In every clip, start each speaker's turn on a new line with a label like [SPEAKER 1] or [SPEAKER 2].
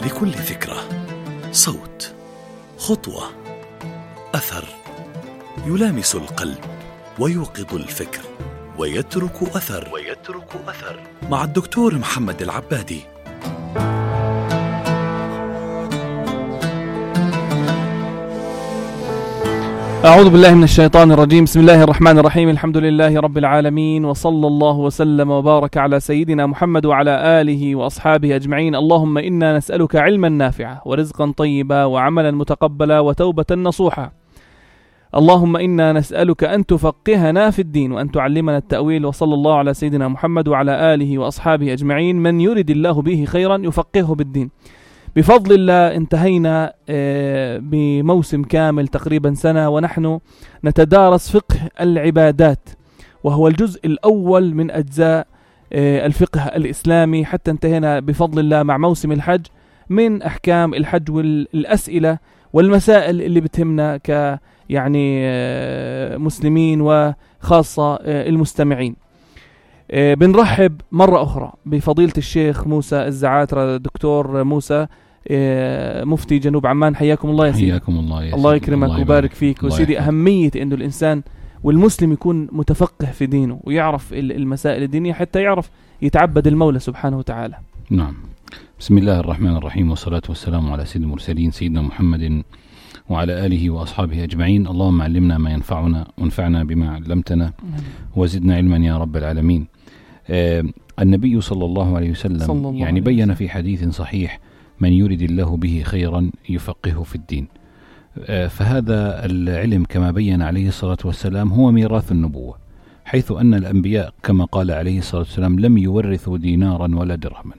[SPEAKER 1] لكل فكرة صوت، خطوة، أثر يلامس القلب ويوقظ الفكر ويترك أثر مع الدكتور محمد العبادي.
[SPEAKER 2] أعوذ بالله من الشيطان الرجيم. بسم الله الرحمن الرحيم. الحمد لله رب العالمين، وصلى الله وسلم وبارك على سيدنا محمد وعلى آله وأصحابه أجمعين. اللهم إنا نسألك علما نافعا ورزقا طيبا وعملا متقبلا وتوبة نصوحا. اللهم إنا نسألك أن تفقهنا في الدين وأن تعلمنا التأويل. وصلى الله على سيدنا محمد وعلى آله وأصحابه أجمعين. من يرد الله به خيرا يفقهه بالدين. بفضل الله انتهينا بموسم كامل تقريبا سنة ونحن نتدارس فقه العبادات، وهو الجزء الأول من أجزاء الفقه الإسلامي، حتى انتهينا بفضل الله مع موسم الحج من أحكام الحج والأسئلة والمسائل اللي بتهمنا يعني مسلمين وخاصة المستمعين. بنرحب مرة أخرى بفضيلة الشيخ موسى الزعاترة، دكتور موسى مفتي جنوب عمان. حياكم الله يا سيدي.
[SPEAKER 3] حياكم الله يا سيدي.
[SPEAKER 2] الله يكرمك ويبارك فيك. وسيدي، أهمية إنه الإنسان والمسلم يكون متفقه في دينه ويعرف المسائل الدينية حتى يعرف يتعبد المولى سبحانه وتعالى.
[SPEAKER 3] نعم. بسم الله الرحمن الرحيم، والصلاة والسلام على سيد المرسلين سيدنا محمد وعلى آله وأصحابه أجمعين. اللهم علمنا ما ينفعنا وانفعنا بما علمتنا وزدنا علما يا رب العالمين. النبي صلى الله عليه وسلم يعني بيّن في حديث صحيح: من يرد الله به خيرا يفقهه في الدين. فهذا العلم كما بيّن عليه الصلاة والسلام هو ميراث النبوة، حيث أن الأنبياء كما قال عليه الصلاة والسلام لم يورثوا دينارا ولا درهما،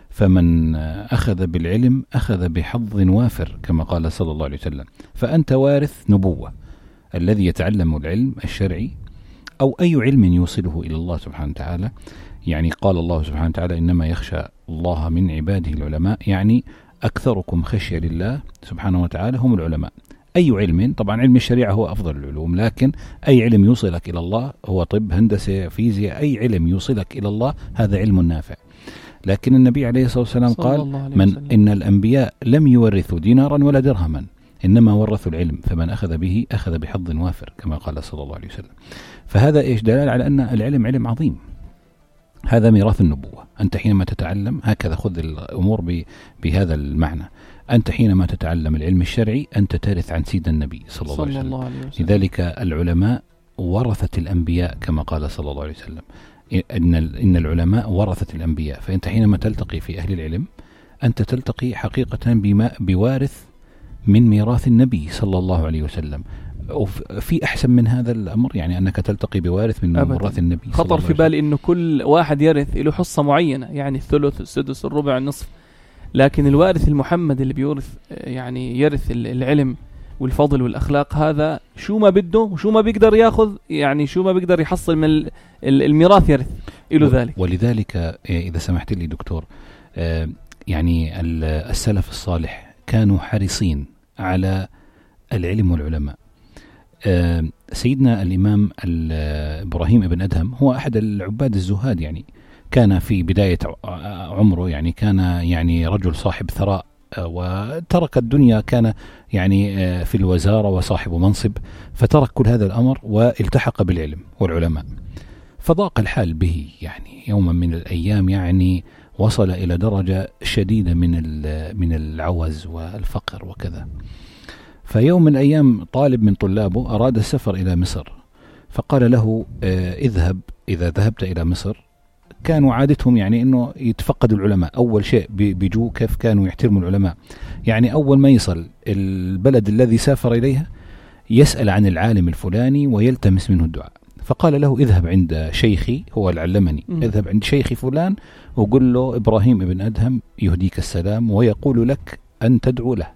[SPEAKER 3] فمن أخذ بالعلم أخذ بحظ وافر كما قال صلى الله عليه وسلم. فأنت وارث نبوة، الذي يتعلم العلم الشرعي أو أي علم يوصله إلى الله سبحانه وتعالى. يعني قال الله سبحانه وتعالى: إنما يخشى الله من عباده العلماء، يعني أكثركم خشية لله سبحانه وتعالى هم العلماء. أي علم، طبعا علم الشريعة هو أفضل العلوم، لكن أي علم يوصلك إلى الله، هو طب، هندسة، فيزياء، أي علم يوصلك إلى الله هذا علم نافع. لكن النبي عليه الصلاة والسلام قال: إن الأنبياء لم يورثوا دينارا ولا درهما، إنما ورثوا العلم، فمن أخذ به أخذ بحظ وافر كما قال صلى الله عليه وسلم. فهذا إيش دلالة على أن العلم علم عظيم، هذا ميراث النبوة. أنت حينما تتعلم هكذا، خذ الأمور بهذا المعنى. أنت حينما تتعلم العلم الشرعي أنت ترث عن سيد النبي صلى الله عليه وسلم. لذلك العلماء ورثة الأنبياء كما قال صلى الله عليه وسلم: إن العلماء ورثة الأنبياء. فأنت حينما تلتقي في أهل العلم أنت تلتقي حقيقة بوارث من ميراث النبي صلى الله عليه وسلم. وفي أحسن من هذا الأمر، يعني أنك تلتقي بوارث من ميراث النبي.
[SPEAKER 2] خطر في بالي أنه كل واحد يرث له حصة معينة، يعني الثلث، السدس، الربع، النصف، لكن الوارث المحمد اللي بيورث يعني يرث العلم والفضل والأخلاق، هذا شو ما بده وشو ما بيقدر ياخذ، يعني شو ما بيقدر يحصل من الميراث يرث إله ذلك.
[SPEAKER 3] ولذلك إذا سمحت لي دكتور، يعني السلف الصالح كانوا حريصين على العلم والعلماء. سيدنا الإمام إبراهيم ابن أدهم هو أحد العباد الزهاد، يعني كان في بداية عمره، يعني كان يعني رجل صاحب ثراء وترك الدنيا، كان يعني في الوزارة وصاحب منصب، فترك كل هذا الأمر والتحق بالعلم والعلماء. فضاق الحال به، يعني يوما من الأيام يعني وصل إلى درجة شديدة من العوز والفقر وكذا. فيوم من الأيام طالب من طلابه أراد السفر إلى مصر، فقال له: اذهب، إذا ذهبت إلى مصر. كانوا عادتهم يعني أنه يتفقدوا العلماء، أول شيء بيجوا كيف كانوا يحترموا العلماء، يعني أول ما يصل البلد الذي سافر إليها يسأل عن العالم الفلاني ويلتمس منه الدعاء. فقال له: اذهب عند شيخي، هو اللي علمني، اذهب عند شيخي فلان وقل له إبراهيم ابن أدهم يهديك السلام ويقول لك أن تدعو له.